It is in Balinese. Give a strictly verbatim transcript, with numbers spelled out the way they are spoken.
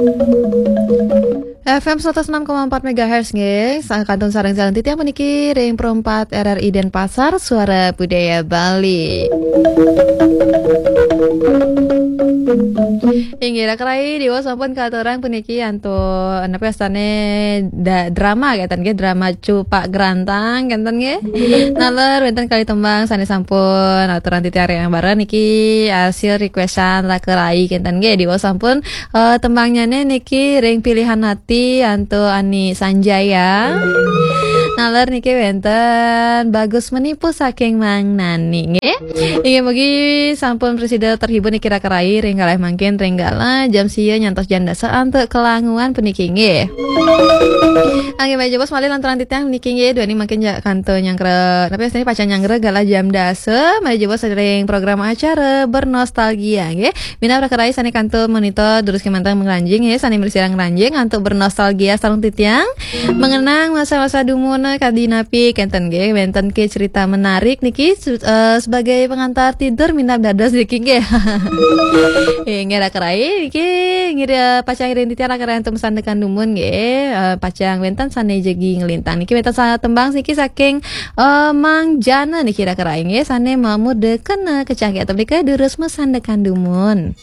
F M seratus enam koma empat megahertz nggih, sa-, kantun sareng-sareng titiang puniki ring Pro empat R R I Denpasar, Suara Budaya Bali. Inggih, Raka Rai, diwas sampun katurang puniki antuk, napa wastane, da-, drama kenten nggih, drama Cupak Grantang kenten nggih. Naler wenten kali tembang sane sampun aturang titiang ring ambara niki asil requestan Raka Rai kenten nggih, diwas sampun Eh, tembangnyane niki ring Pilihan Hati antuk Ani Sanjaya. Naler niki wenten Bagus Menipu saking Mang Nani nggih. Inggih mugi sampun prasida terhibur niki Raka Rai ring galah mangkin ring galah jam sia nyantos jam dasa antuk kelanguan puniki nggih. Inggih, malih jebos malih lanturang titiang niki nggih, duaning mangkin ja kantun nyanggra, napa wastane pacang nyanggra galah jam dasa, malih jebos ring program acara Bernostalgia nggih. Minab Raka Rai sane kantun monitor durus kemanten ngranjing nggih, sane mlesirang ngranjing antuk bernostalgia sareng titiang. Mengenang masa-masa dumun kadi napi kenten nggih, wenten ke cerita menarik niki su-, eh, sebagai pengantar tidur minab dados niki nggih. Inggih Raka Rai niki ngira pacang ngiring titiang Raka Rai antuk masandekan dumun nggih. Eh, pacang wenten sane jagi nglintang niki wenten sa-, tembang niki saking, eh, Mang Jana niki Raka Rai nggih, sane mamurda kena kecangkeh atau menika durus masandekan dumun.